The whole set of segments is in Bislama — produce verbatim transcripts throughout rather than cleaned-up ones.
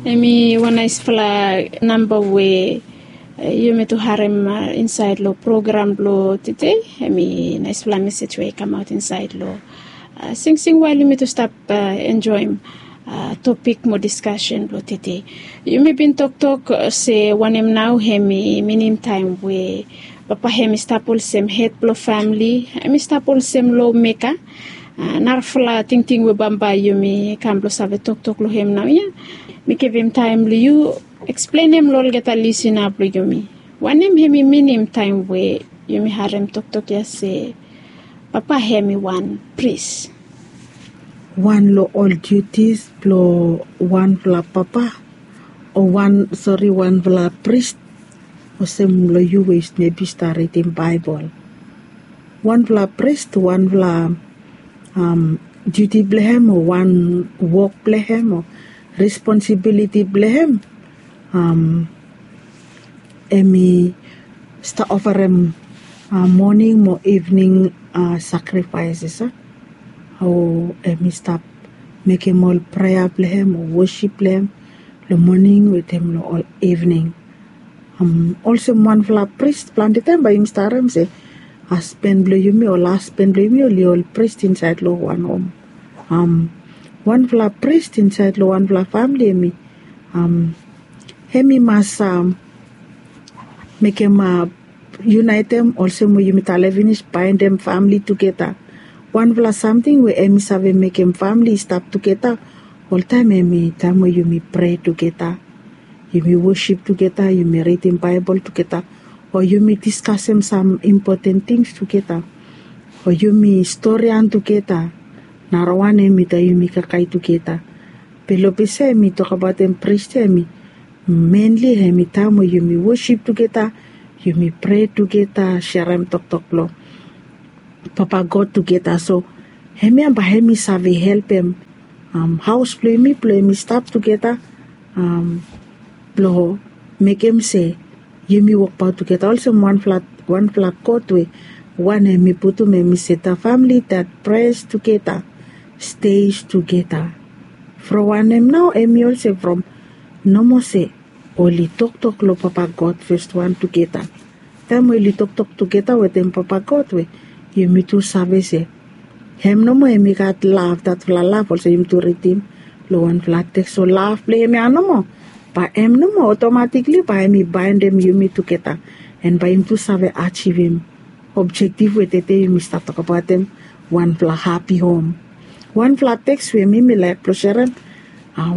Em i wan naispela namba we yumi tu harem insaed long program blong tede. Em i naispela mesej we i kamaot insaed long singsing wael yumi tu stap enjoem topik mo diskasen blong tede. Yumi bin toktok se wanem nao em i minim taem we papa em i stap olsem hed blong famili, em i stap olsem lo meka. Narafala tingting we bambae yumi kam blong save toktok long em nao ya. Mi givim taem long yu eksplenem long olgeta lisina blong yumi wanem em i minim taem we yumi harem toktok ya se papa em i wan pris. Wan long ol diutis blong wanfala papa o wan sori wanfala pris, olsem long yu we mebi yu stap ridim Baebol. Wanfala pris, wanfala diuti blong em o wan wok blong em o responsibiliti blong em, em i stap ofarem moning mo ivning sakrifaeses, o em i stap mekem ol prea blong em o wosip blong em long moning wetem long ol ivning. Olsem wanfala pris, plante taem bae yumi stap harem se hasben blong yumi o lasben blong yumi oli ol pris insaed long wan hom. Wanfala pris insaed long wanfala famili em i em i mas mekem, yunaetem, olsem we yumi talem finis, baendem famili tugeta. Wanfala samting we em i save mekem famili i stap tugeta oltaem em i taem we yumi prea tugeta, yumi wosip tugeta, yumi ridim Baebol tugeta, o yumi diskasem sam impoten tings tugeta, o yumi storian tugeta. Narawan em i taem yumi kakae tugeta. Be long ples ya em i tokbaotem pris ya em i menli em i taem we yumi wosip tugeta, yumi prea tugeta, serem toktok blong Papa God tugeta. So hemia bae hem i save helpem haos blong yumi blong yumi stap tugeta blong mekem se yumi wokbaot tugeta olsem wanfala, wanfala kot we wanem i putum hem i se the family that prays together stays together. From wanem nao hem i olsem from nomo se oli toktok long Papa God fes wan tugeta. Taem we oli toktok tugeta wetem Papa God we yumi tu save se hem nomo hem i gat lav, datfala lav olsem yumi tu ridim long wanfala teks. So lav blong hem ya nomo bae hem nomo otomatikli bae hem i baendem yumi tugeta, and bae yumi tu save ajivim objektiv we tede yumi stap tokbaotem, wanfala hapi hom. Wanfala teks we mi mi laek blong serem,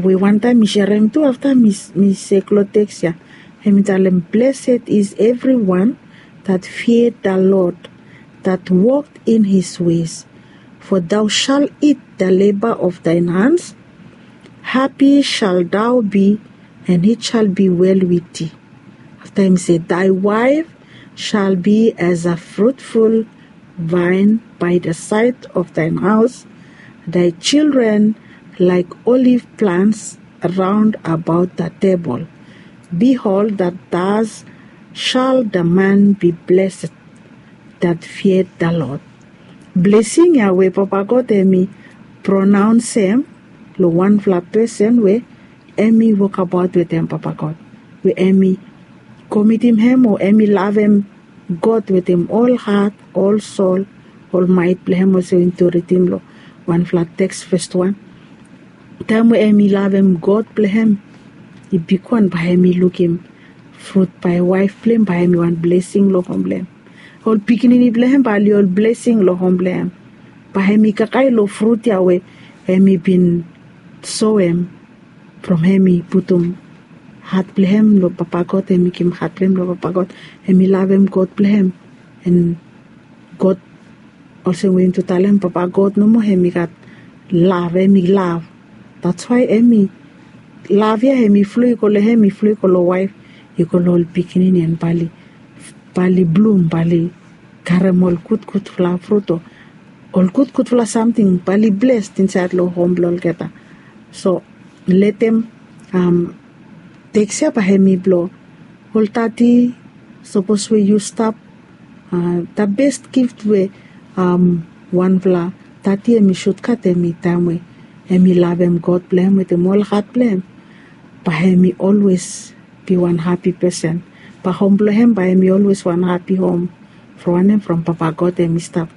we wantaem mi serem tu afta mi sek long teks ya, hem i talem, "Blessed is everyone that feared the Lord, that walked in his ways. For thou shalt eat the labor of thine hands. Happy shalt thou be, and it shall be well with thee." Afta hem i se, "Thy wife shall be as a fruitful vine by the side of thine house, thy children like olive plants round about the table. Behold, that thus shall the man be blessed that feared the Lord." Blesing ya we Papa God hem i pronaonsem long wanfala pesen we hem i wokabaot wetem Papa God, we hem i komitim hem o hem i lavem God wetem ol hat, ol sol, ol maet blong hem, olsem we yumi tu ridim long wanfala teks fes wan. Taem we hem i lavem God blong hem, i bigwan, bae hem i lukim frut bae waef blong hem bae hem i wan blesing long hom blong hem. Ol pikinini blong hem bae oli ol blesing long hom blong hem. Bae hem i kakae long frut ya we hem i bin soem from hem i putum hat blong hem long Papa God, hem i givim hat blong hem long Papa God, hem i lavem God blong hem. And God, olsem we yumi tu talem, Papa God nomo hem i gat lav, hem i lav. That's why hem i lav ya hem i flo i go long hem, i flo i go long waef, i go long ol pikinini, and bae oli, bae oli blum, bae oli karem ol gudgudfala frut o ol gudgudfala samting, bae oli blesed insaed long hom blong olgeta. So letem teks ya bae hem i blong ol tati, sapos we yu stap, the best gift we wanfala tati hem i sud gat hem i taem we hem i lavem God blong hem wetem ol hat blong hem. Bae hem i olwes bi wan hapi pesen. Bae hom blong hem bae hem i olwes wan hapi hom. From wanem? From Papa God hem i stap.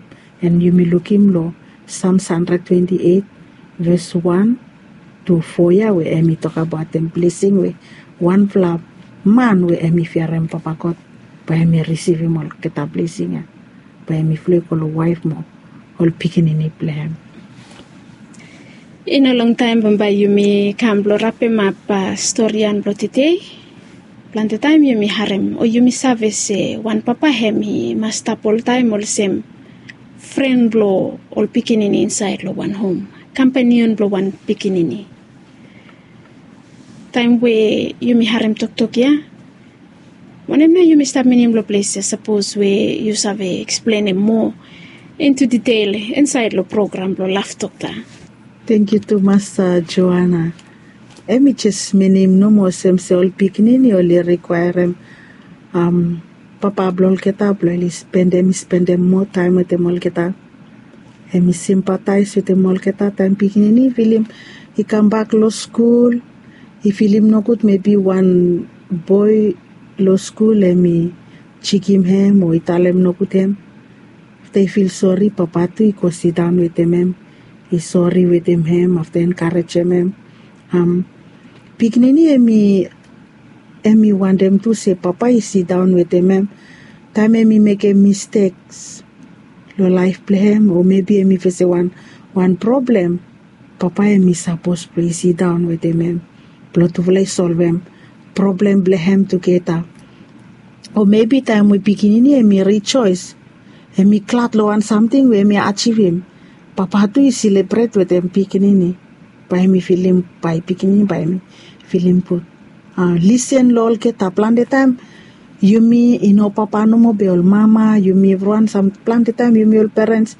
An yumi lukim long Psalms hundred twenty-eight, ves wan tu fo ya, we hem i tokabaot hem blesing we wanfala man we hem i fiarim Papa God bae hem i risivim olgeta blesing ya. Bae hem i flo i go long waef mo ol pikinini blong hem. I no longtaem bambae yumi kam blong rapemap storian blong tede. Plante taem yumi harem o yumi save se wan papa hem i mas stap oltaem olsem fren blong ol pikinini insaed long wan hom, kampanion blong wan pikinini. Taem we yumi harem toktok ya, wanem nao yumi stap minim long ples ya? Sapos we yu save eksplenem moa into detail insaed long program blong laf toktok. Tangkiu tumas, Joana. Hem i jes minim nomo olsem se ol pikinini oli rikwaerem papa blong olgeta blong oli spendem, spendem moa taem wetem olgeta. Hem i simpataes wetem olgeta taem pikinini i filim i kambak long skul, i filim nogud, mebi wan boe long skul hem i jikim hem o i talem nogud hem. Afta i fil sori, papa tu i go sidaon wetem hem, i sori wetem hem, afta enkarejem hem. Pikinini hem i hem i wantem tu se papa i sidaon wetem hem taem hem i mekem misteks long laef blong hem, o mebi hem i fesem wan, wan problem. Papa hem i sapos blong i sidaon wetem hem blong tufala i solvem problem blong hem tugeta. O mebi taem we pikinini hem i rijoes, hem i glad long wan samting we hem i ajivim, papa tu i selebret wetem pikinini. Bae hem i filim, bae pikinini bae hem i filim gud. Lisen long olgeta. Plante taem yumi i no papa nomo be ol mama, yumi evriwan, sam plante taem yumi ol perens,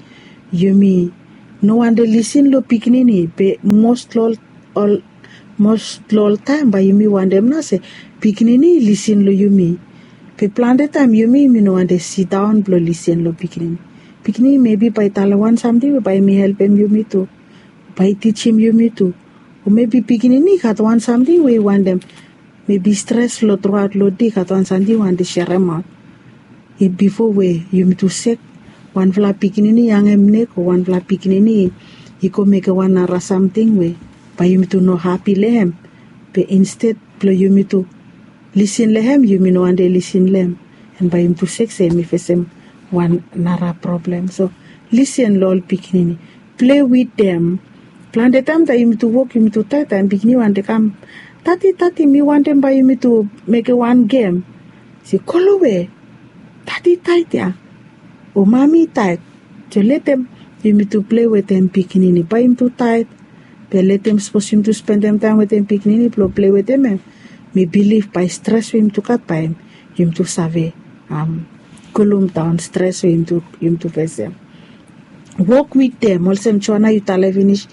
yumi no wantem lisen long pikinini, be mos long ol, mos long ol taem bae yumi wantem nao se pikinini i lisen long yumi. Be plante taem yumi, yumi no wantem sidaon blong lisen long pikinini. Pikinini mebi bae i talem wan samting we bae hem i helpem yumi tu, bae i tijim yumi tu. O mebi pikinini i gat wan samting we i wantem, mebi stres long truaot long dei, i gat wan samting i wantem seremaot. Bifo we yumi tu sek, wanfala pikinini i hangem nek o wanfala pikinini i go mekem wan nara samting we bae yumi tu no hapi long hem. Be insted blong yumi tu lisen long hem, yumi no wantem lisen long hem. An bae yumi tu sek se hem i fesem wan nara problem. So lisen long ol pikinini. Plei wetem. Plante taem taem yumi tu wok, yumi tu taet, taem pikinini wantem kam, "Dadi, dadi, mi wantem bae yumi tu mekem wan gem." Se, "Golowe. Dadi i taet ya, o mami i taet." So letem yumi tu plei wetem pikinini. Bae yumi tu taet, be letem, sapos yumi tu spendem taem wetem pikinini blong plei wetem hem, mi bilif bae stres we yumi tu gat, bae yumi tu save kulumdaon stres we yumi tu, yumi tu fesem. Wok wetem, olsem Joana yu talem finis,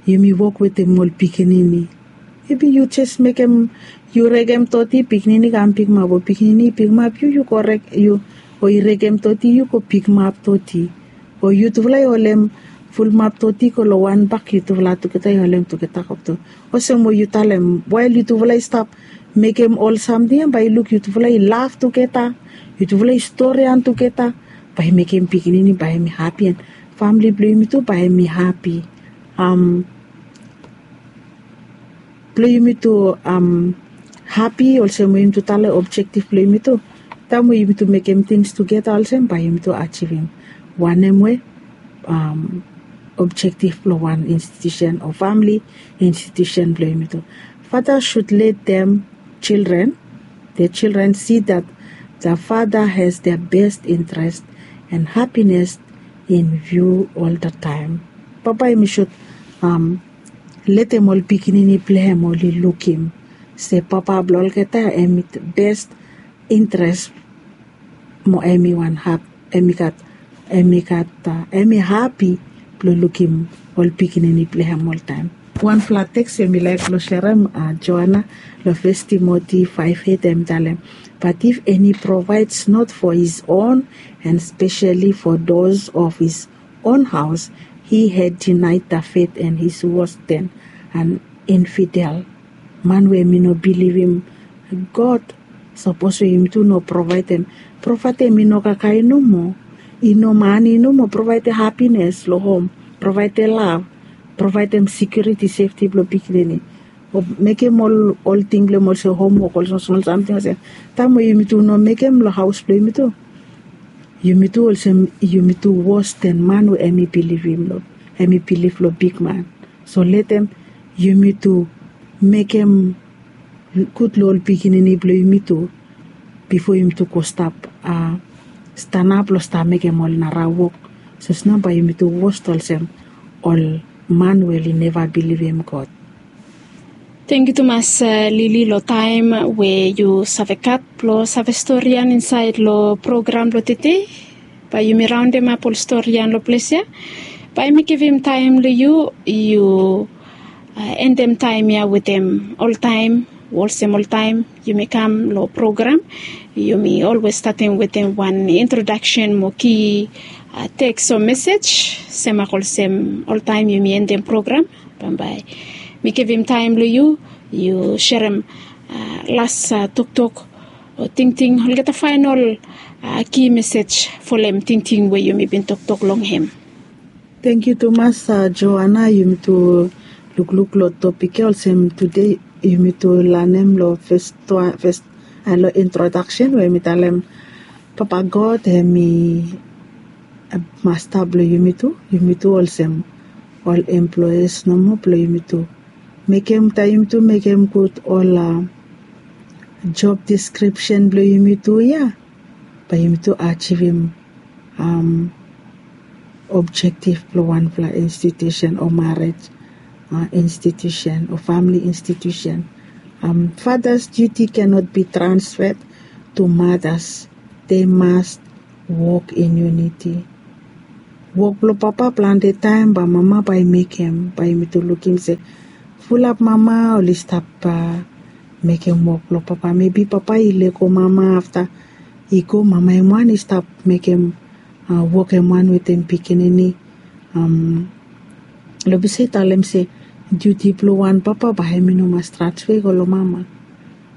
yumi wok wetem ol pikinini. Mebi yu jes mekem, yu rekem doti, pikinini i kam pikimap, o pikinini i pikimap yu, yu go rek, yu, o i rekem doti, yu go pikimap doti. O yutufala i holem fulumap doti go long wan bak, yutufala tugeta i holem tugeta go tu. Olsem we yu talem, wael yutufala i stap mekem ol samting ya, bae i luk yutufala i laf tugeta, yutufala i storian tugeta, bae i mekem pikinini bae hem i hapi, an famle blong yumi tu bae hem i hapi. Blong yumi tu hapi, olsem we yumi tu talem, objektif blong yumi tu, taem we yumi tu mekem tings tugeta olsem, bae yumi tu ajivim wanem we objektif blong wan institusen o famle institusen blong yumi tu. Father should let them children, the children see that the father has their best interest and happiness in view all the time. Papa hem i should letem ol pikinini blong hem oli lukim se papa blong olgeta hem i best interest mo hem i wan hap, hem i gat, hem i gat, hem i hapi blong lukim ol pikinini blong hem oltaem. Wanfala teks we mi laek blong serem, Joana, long Fes Timoti faef eit, hem i talem, "But if any provides not for his own, and specially for those of his own house, he had denied the faith and is worse than an infidel." Man we em i no bilivim God, sapos we yumi tu no provaedem. Provaedem i no kakae nomo, i no mani nomo, provaedem hapines long hom, provaedem lav, provaedem sekiuriti, sefti blong pikinini, o mekem ol ting blong hem olsem homwok, ol smol smol samting olsem. Taem we yumi tu no mekem long haos blong yumi tu, yumi tu olsem yumi tu wos den man we em i bilivim long, em i bilif long bigman. So letem yumi tu mekem gud long ol pikinini blong yumi tu, bifo yumi tu go stap stanap long stap mekem ol nara wok. Sosna bae yumi tu wos olsem ol man we oli neva bilivim God. Tangkiu tumas, Lili, long taem we yu save gat blong save storian insaed long program blong tede. Bae yumi raondemap ol storian long ples ya. Bae mi givim taem long yu, yu endem taem ya wetem oltaem, olsem oltaem yumi kam long program, yumi olwes statem wetem wan introdaksen mo ki teks o mesej, semak olsem oltaem yumi endem program. Bambae mi givim taem long yu, yu serem las toktok o tingting, olgeta faenol ki mesej folem tingting we yumi bin toktok long hem. Tangkiu tumas, Joana. Yumi tu lukluk long topik ya olsem tude yumi tu lanem long fes, fes, long introdaksen we mi talem Papa God hem i masta blong yumi tu. Yumi tu olsem ol employes nomo blong yumi tu. Mekem taem yumi tu mekem gud ol job deskripsen blong yumi tu ya, bae yumi tu ajivim objektif blong wanfala institusen o marej institusen o famili institusen. Father's duty cannot be transferred to mothers. They must walk in unity. Wok blong papa plante taem bae mama bae i mekem, bae yumi tu lukim se fulap mama oli stap mekem wok blong papa. Mebi papa i lego mama afta i go, mama hem wan i stap mekem wok hem wan wetem pikinini. Long ples ya i talem se diuti blong wan papa bae hem i no mas transfe go long mama.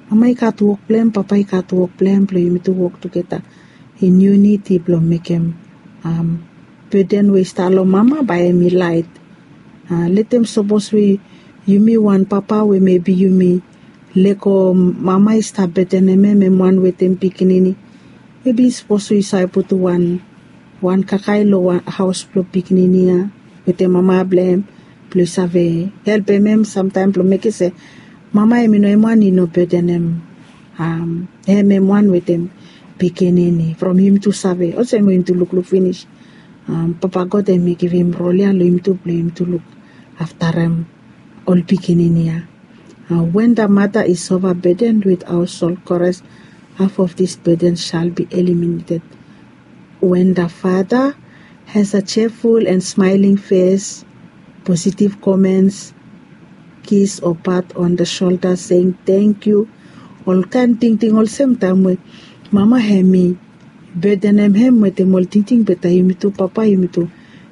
Mama i gat wok blong hem, papa i gat wok blong hem, blong yumi tu wok tugeta in uniti blong mekem beden we i stap long mama bae hem i laet. Letem sapos we yumi wan papa we mebi yumi lego mama i stap bedenem hem, hem wan wetem pikinini, mebi sapos we yu save putum wan, wan kakae long haos blong pikinini ya wetem mama blong hem, blong yu save helpem hem samtaem blong mekem se mama hem i no, hem wan i no bedenem hem, hem wan wetem pikinini. From yumi tu save olsem we yumi tu lukluk finis, Papa God hem i givim rol ya long yumi tu blong yumi tu luk aftarem ol pikinini ya. When the mother is overburdened with household chores, half of this burden shall be eliminated. When the father has a cheerful and smiling face, positive comments, kiss or pat on the shoulder saying thank you, ol kaen tingting olsem, taem we mama hem i bedenem hem wetem ol tingting, be taem yumi tu papa yumi tu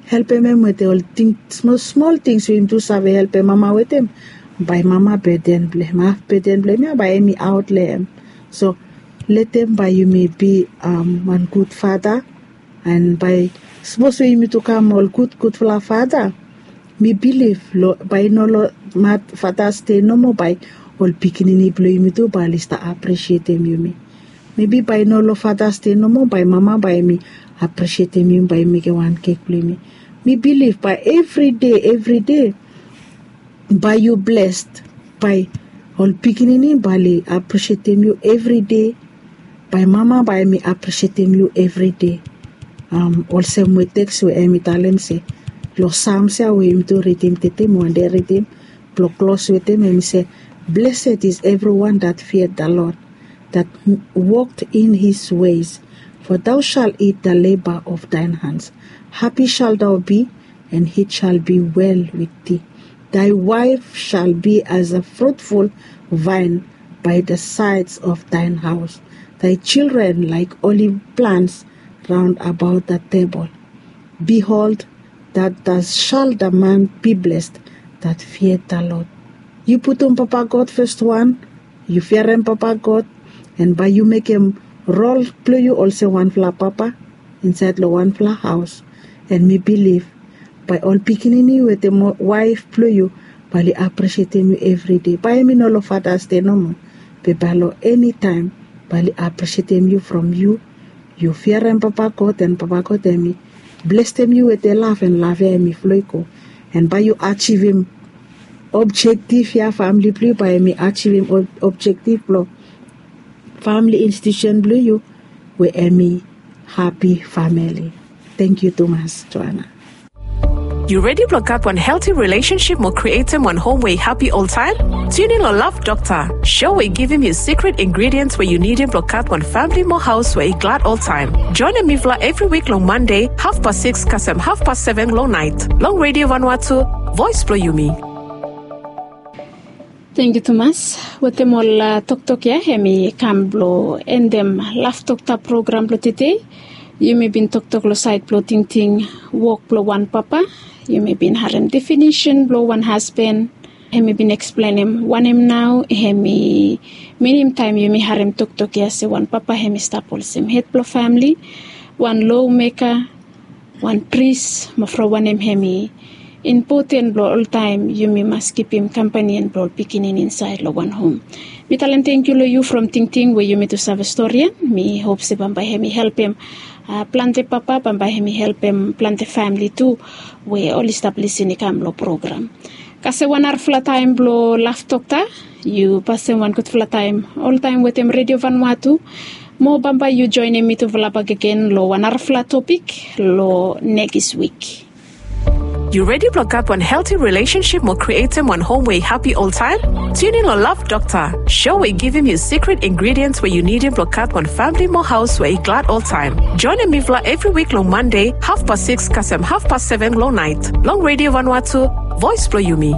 helpem hem wetem ol smol smol tings we yumi tu save helpem mama wetem, bae mama beden blong hem, haf beden blong hem ya bae hem i aot long hem. So letem bae yumi bi wan gud fada, an bae sapos we yumi tu kam ol gud gudfala fada, mi bilif bae i no long Father's Day nomo bae ol pikinini blong yumi tu bae oli stap aprisietem yumi. Mebi bae i no long Father's Day nomo bae mama bae hem i aprisietem yumi, bae hem i mekem wan kek blong yumi. Mi bilif bae evri dei, evri dei bae yu blessed, bae ol pikinini bae oli aprisietem yu evri dei, bae mama bae hem i aprisietem yu evri dei. Olsem we teks we hem i talem se long Psalms ya we yumi tu ridim tede, mi wande ridim blong klos wetem, hem i se, blessed is everyone that feared the Lord, that walked in his ways. For thou shalt eat the labor of thine hands. Happy shalt thou be, and it shall be well with thee. Thy wife shall be as a fruitful vine by the sides of thine house, thy children like olive plants round about the table. Behold, that thus shall the man be blessed that feared the Lord. Yu putum Papa God fes wan, yu fiarem Papa God, en bae yu mekem rol blong yu olsem wanfala papa insaed long wanfala haos. En mi bilif bae ol pikinini wetem waef blong yu bae oli aprisietem yu evride. Bae hemi no long Fatas Dei nomo, be bae long enitaem bae oli aprisietem yu from yu yu fiarem Papa God, en Papa God hemi blesem yu wetem lav, en lav ya hemi flo i go. En bae yu ajivim objektif ya, famili blong yu bae hemi ajivim objektif blong famili institusen blong yu, we hemi hapi famili. Tangkiu tumas, Joana. Yu redi blong gat wan helti rilesensip mo krietem wan hom we i hapi oltaem? Tiunin long Lav Dokta, sho we i givim yu sikret ingrediens we yu nidim blong gat wan famili mo haos we i glad oltaem. Joenem mifala evri wik long Mande hafpas sikis kasem hafpas seven long naet long Redio Vanuatu, voes blong yumi. Tangkiu tumas. Wetem ol toktok ya, hemi kam blong endem Lav Dokta program blong tede. Yumi bin toktok long saed blong tingting wok blong wan papa. Yumi bin harem definisen blong wan hasban. Hemi bin eksplenem wanem nao hemi minim taem yumi harem toktok ya se wan papa hemi stap olsem hed blong famili, wan lomeka, wan pris, mo from wanem hemi impoten blong oltaem yumi mas kipim kampanian blong ol pikinini insaed long wan hom. Mi talem tangkiu long yu from tingting we yumi tu save stori ya. Mi hop se bambae hemi helpem plante papa, bambae hemi helpem plante famili tu we oli stap lisin i kam long program. Kasem wan narafala taem blong Lav Dokta. Yu pasem wan gudfala taem oltaem wetem Redio Vanuatu. Mo bambae yu joenem mitufala bakegen long wan narafala topik long nekis wik. Yu redi blong gat wan helti rilesensip mo krietem wan hom we i hapi oltaem? Tiunin long Lav Dokta, sho we i givim yu sikret ingrediens we yu nidim blong gat wan famili mo haos we i glad oltaem. Joenem mifala evri wik long Mande hafpas sikis kasem hafpas seven long naet long Redio Vanuatu, voes blong yumi.